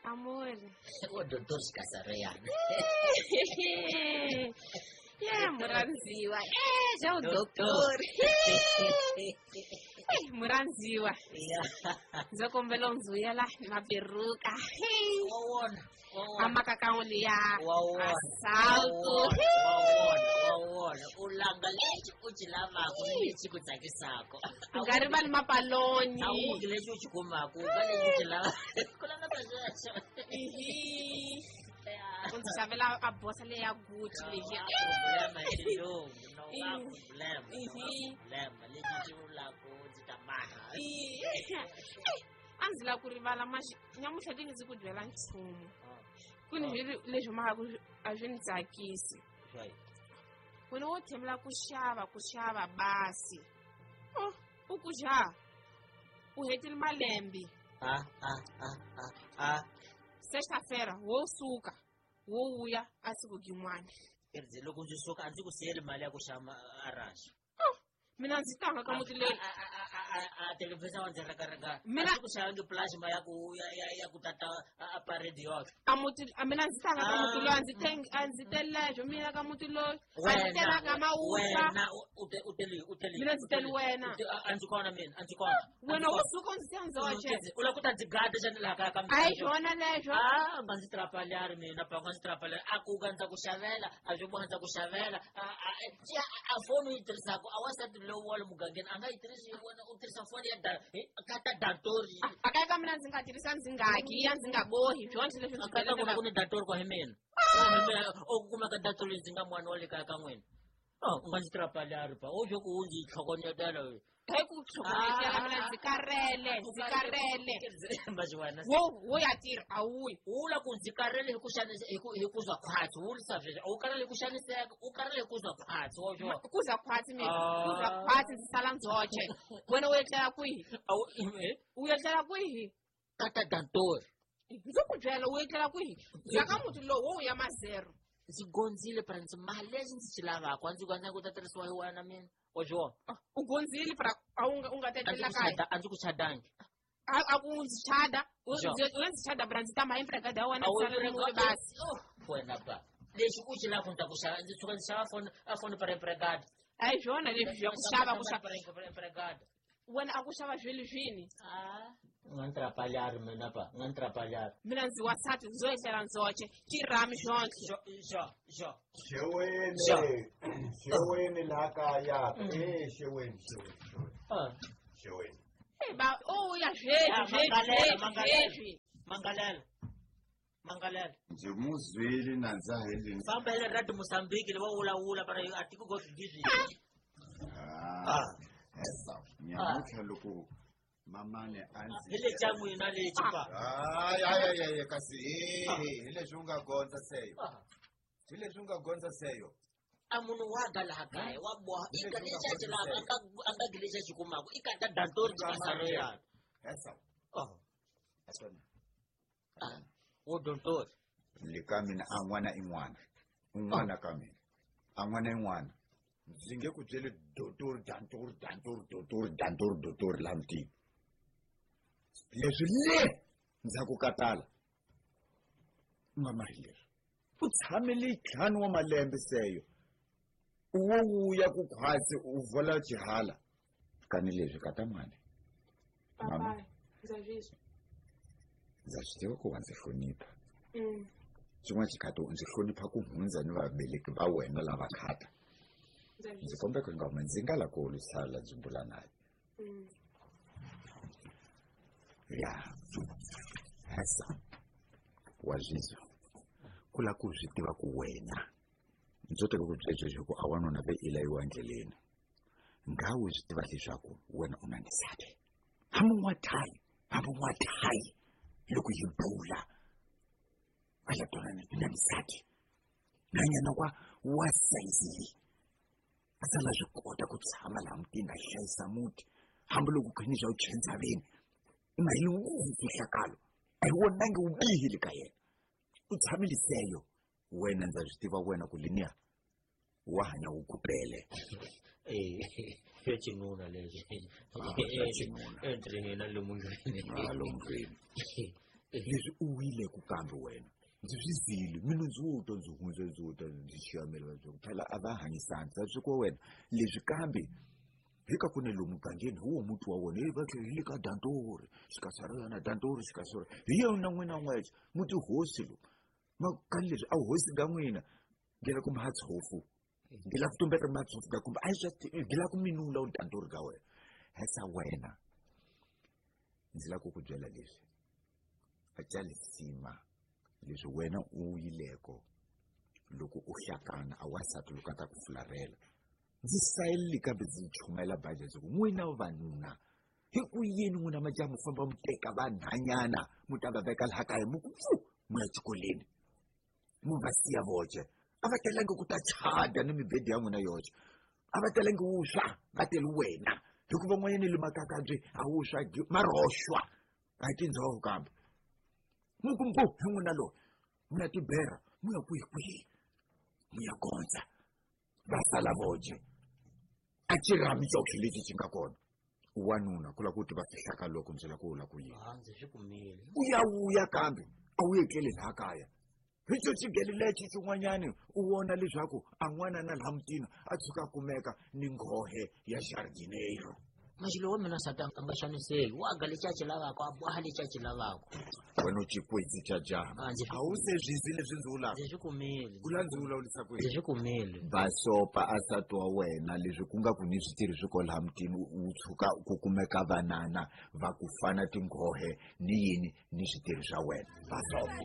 Amor. O doutor Xikasareyana. Ye murhandziwa. Já o doutor. Murhandziwa. Ndzo kombela u ndzi vuyela na peruka. Wa wona. Wa wona. Amakakao liya. Wa wona. Assalto. Wa wona. Wa wona. U langa lexi u xi lavaka ni lexi ku tsakisaka. U nga rivali mapaloni. A wu lexi u xi kumaka, u ka lexi u xi lavaka. Ku langa sweswo. U ndzi xavela a bosa leyi ya Gucci leyi. Problema hi xilungu, no va problema, no va problema lexi xi vulaka ndzi ta maha. A ndzi lava ku rivala maxi nyamutlha ti ndzi ku byela nchumu. Ku ni leswi maka ku a swi ni tsakisi. Wena wo thembela ku xava ku xava basi. Oh, u ku xa. U hetile malembe. Ah ah ah ah ah. Sexta-feira wo suka wo vuya a siku gin'wana. Ndzi loko ndzi suka a ndzi ku siyeli mali ya ku xava arashi. Mina ndzi tanga ka muti leyi. A televhizha wa ndzi reka-reka. Mina A ndzi ku xavangi plush ma ya ku ya ya ya ku tata a parade yoxe. A muti a mina ndzi tanga ka muti loyi a ndzi tengi a ndzi telexo mina ka muti loyi. A ndzi telanga mawusa. Wena u te u teli u teli. Mina ndzi teli wena. A ndzi kona mina a ndzi kona. Wena wo suka u ndzi siya ndzoxe. U lava ku ta ndzi gada xana laha kaya ka mina? A hi swona leswo. Ah, nga ndzi trapalhari mina pa nga ndzi trapalhari. A ku ka ndza ku xavela, a swi boha ndza ku xavela. A foni u yi tirhisaka a wansati lowu wa le mugangeni a nga yi tirhisi wena u tirhisa foni ya da ka ta datori. A kaya ka mina ndzi nga tirhisa ndzi nga haki ya ndzi nga bohi byona leswi ndzi Ka ta ku ni datori kwa hi mina. U kumeka datori ndzi nga n'wana wa le kaya ka n'wina. Oh, u nga ndzi trapalhari pa. U swo ku u ndzi tlhokonyetela we. Hi ku tlhokonyetela mina ndzi karele, ndzi karele. Maxiwana. Wo wo ya tirha a wu yi. U la ku ndzi karele hi ku xanisa hi ku hi ku zwa khwatsi, wu vurisa sweswo. A wu karele hi ku xaniseka, u karele hi ku zwa khwatsi, wa swo. Ku za khwatsi mina, ku za khwatsi ndzi sala ndzoxe. Wena u etlela kwihi? A wu eh? U etlela kwihi? Ka ta dantori. Ndzi ku byela u etlela kwihi? Ya ka muti lowu wo ya mazero. Ndzi gondzile pra ndzi mali lexi ndzi xi lavaka a ndzi ku a ndzi ku ta tirhisiwa hi wena mina. Wa swi vona? U gondzile pra a wu nga u nga ta etlela kaya. A ndzi ku chadangi. A ku ndzi chada, u ndzi chada pra ndzi tama empregada ya wena ndzi sala ni muri basi. Wena ba. Lexi u xi lavaka ndzi ta ku xava ndzi tshuka ndzi xava foni a foni para empregada. A hi swona leswi swa ku xava ku xava. Empregada. Wena a ku xava swilo swini? Ah, nga ni trapalhari mina pa, nga ni trapalhari. Mina ndzi wansati ndzo etlela ndzoxe, xirhami xonke. Xo xo xo. Xeweni, xeweni laha kaya. Eh, xeweni, xeweni, xeweni. Ah. Xeweni. Hey ba, u ya sweswi, sweswi, sweswi. Mangalela. Mangalela. Ndzi mu zwile nandza hi le. Famba hi le Radio Mozambique le va vulavula para a tiko go swi Ah. Esa, nyamutlha loko mamane a ndzi Hi le xa n'wina lexi pa. Hayi, hayi, hayi, kasi hi leswi u nga gondza seyo. Hi leswi u nga gondza seyo. A munhu wa ga laha kaya wa boha i ka lexi a xi lava a nga a nga gi lexi a xi kumaka i ka ta dantori xikasareyana. Esa. Oh. Asona. Ah, wo dontori. Le ka mina a n'wana i n'wana. Un'wana ka mina. A n'wana i n'wana. Ndzi nge ku byeli dotori dantori dantori dotori dantori dotori laha mutini. Leswi le ndzhaku ka tala u nga mari leswi. U tshamele ntlhanu wa malembe seyo. U wo wuya ku khwatsi u vola xihala. Kani leswi ka ta mani. Papa, ndza swi Ndza swi tiva ku wa ndzi hlonipha. Xin'wana xikhathi u ndzi hlonipha ku hundza ni vabeleki va wena lava khata. Ndzi kombela ku nga ndzi nga la ku lwisala ndzi bula naye. Ya. Hasa. Wa zwizwa. Ku la ku swi tiva ku wena. Ndzo teka ku byela sweswo ku a wanuna ve i layiwa endleleni. Nga u swi tiva leswaku wena u na nsati. Hambi n'wathayi, hambi n'wathayi loko hi bula va la twanana na nsati. Nanyana wa wa sayizi a sala swi kota ku tshama laha mutini a hlayisa muti hambiloko ku ni swa u chensaveni u nga yi ngopfu mfihlakalo a hi vonangi vubihi le ka yena u tshamile seyo wena ndza swi tiva wena ku liniya wa hanya wu kupele xo xinuna lexi Ah, xa xinuna. entri hina lomu ndlwini Ah, lomu ndlwini. Leswi u wile ku kambe wena ndzi swi zile mina ndzi wo twa ndzi hundza ndzi wo twa ndzi xiyamela va ku phela a va hanyisani sa swi ko wena leswi kambe hi ka ku ne lomu mugangeni hi wo muti wa wona hi va tlhela hi le ka dantori xikasarana dantori xikasara hi yona n'wina n'wexe muti hosi lowu makani leswi a hosi ka n'wina ngela ku matshofu ngela ku tumbeta matshofu ka kumbe a swi ngela ku minula u dantori ka wena hesa wena ndzi lava ku ku byela leswi a ca lisima leswi wena u yileko loko u hlakana a wansati loko a ta ku fularhela ndzi sayeleli kambe ndzi chumayela baji ndzi ku n'wina vavanuna hi ku yini n'wina majaha mu famba mu teka vanhanyana mu ta va veka laha kaya mu ku pfu mu ya xikolweni mu va siya voce a va telangi ku ta chada ni mibedi ya n'wina yoxe a va telangi wuswa va teli wena hikuva n'wanyana le makakabye a wuswa maroxwa a hi tindzhoho kambe mu ku mpu hi n'wina loyi mu ya tibera mu ya kwihi kwihi mu ya gondza va sala voce a xirhami xoxe lexi xi nga kona wanuna ku lava ku tiva fihlaka loko ndzi lava ku vula ku yini ndzi swi kumile u ya vuya kambe a wu etleli laha kaya hi xo xigele lexi xin'wanyani u vona leswaku a n'wana na laha mutini a tshuka a kumeka ni nghohe ya jardineiro maxilo wa mina nsati a nga xaniseki wa ga lexi a xi lavaka a boha lexi a xi lavaka wena u xikwetsi xa jaha a wu se swi leswi ndzi vulaka ndzi swi kumile ku la ndzi vulavulisa ku ndzi swi kumile basopa a nsati wa wena leswi ku nga ku ni switirhi swi kwalaha mutini u tshuka ku kumeka vanana va ku fana tinghohe ni yini ni switirhi swa wena basopa.